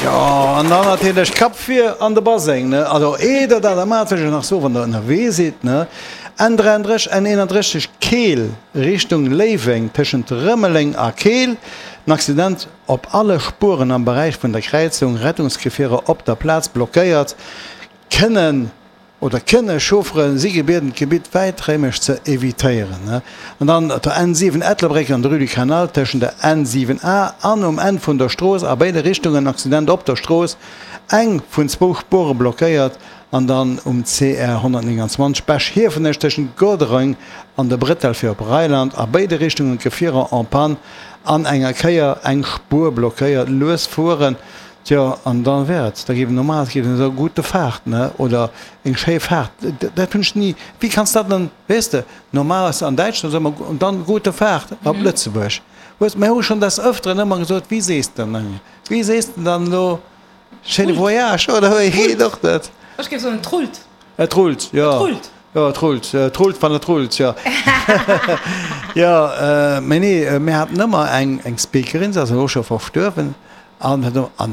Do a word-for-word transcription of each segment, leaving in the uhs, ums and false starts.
Jo, an dann natierlech Kapp vir an de Baseng, ne? Also eer der dat maacht, wëll ech nach soen, wann der ënnerwee sidd, ne? N dräianddrësseg, N eenanddrësseg, Keel Richtung Léiweng, tëschent Rëmeleng a Keel, en Accident op alle Spueren am Beräich vun der Kräizung, Rettungsgefierer op der Plaz blockéiert, kënnen oder kënne Chauffere si gebieden, d'Gebitt wäiträumeg ze evitéieren. An dann op der N siwen Ettelbréck an der Rue du Canal tëschent der N siwen A an um Enn vun der Strooss a béide Richtungen Accident op der Strooss, eng vun zwou Spuere blockéiert. An dann um C R honnertnénganzwanzeg Bech-Hiefenech tëschent Godereng an der Bretelle fir op Reiland a béide Richtungen Gefierer en panne an enger Kéier eng Spuer blockéiert. Lues fueren. Tjo, an da wär et, da géif en normal, géif en soen, gute Fahrt, ne, oder eng schéi Fahrt. Dat hunn ech ni, wéi kanns dat dann, weess de, normal ass an Däitschland soe mer und dann gute Fahrt op Lëtzebuerg. Hues, mir hu schonn des Öfteren ëmmer gesot, wéi sees de dann, wéi sees de dann elo schéine Voyage, oder wéi geet och dat? Ech géif soen, et rullt. Et rullt, jo. Et rullt. Jo, et rullt, et rullt, wann et rullt, jo. Jo, mee nee, mir haten ëmmer eng, eng Speakerin, se ass elo scho verstuerwen, An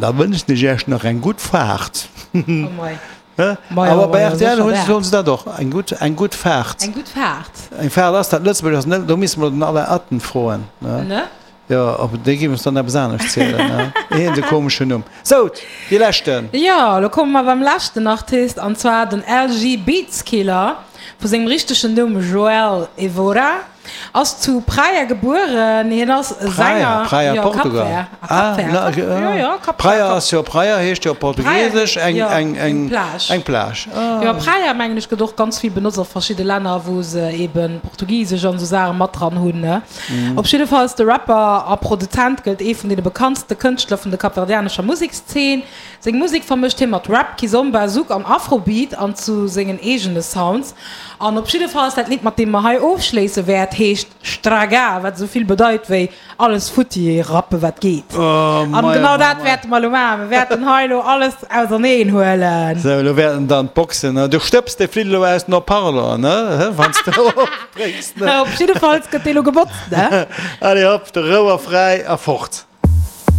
da wënschen ech Iech nach eng gutt Faart. Awer bei R T L hunn soen se dat och, eng gutt, eng gutt Faart. Eng gutt Faart. Eng Faart ass dat, Lëtzebuerg ass net, do misste mer den Alain Atten froen, ne? Jo, op dee géif ons dann eppes anescht zielen, ne? Hien huet e komeschen Numm. Sou, dee leschten. Jo, elo komme mer beim leschten Artist, an zwar den L G Beatskiller, vu sengem richtegen Numm Joel Evora. Ass zu Praia gebueren. Hien ass e Sänger. Praia, Jo, Portugal. Cap Vert. Ah, Cap Vert. Ah, Cap, jo, jo, Cap Vert. Praia ass jo, Praia heescht jo op Portugiesesch eng, jo, eng, eng eng, Plage. Eng Plage. Ah. Jo, Praia mengen ech gëtt och ganz vill benotzt a verschidde Länner, wou se eben Portugisesch an esou Saache mat dran hunn, ne. Op jiddefalls, de Rapper a Produzent gëllt ee vun deene bekanntste Kënschtler vun der kapverdianescher Musekszeen. Seng Musek vermëscht hie mat Rap, Kizomba, Zouk an Afrobeat an zu sengen eegene Sounds. An op jiddefalls dat Lidd mat deem mer hei ofschléisse wäert heescht Straga, wat esou vill bedeit wéi alles futti rappe wat geet. Oh An mei, oh genau mei, dat mei. wäerte mer elo maachen, mir wäerten hei elo alles auserneen huelen. Sou, elo wäerten dann d'Boxen, ne, du stëbs de Flitt elo aus den Haut-Parleur, ne, wann s de opbréchs, ne. Op jiddefalls gëtt dee lo gebotzt, ne. Allez hopp, de Rouer fräi a fort.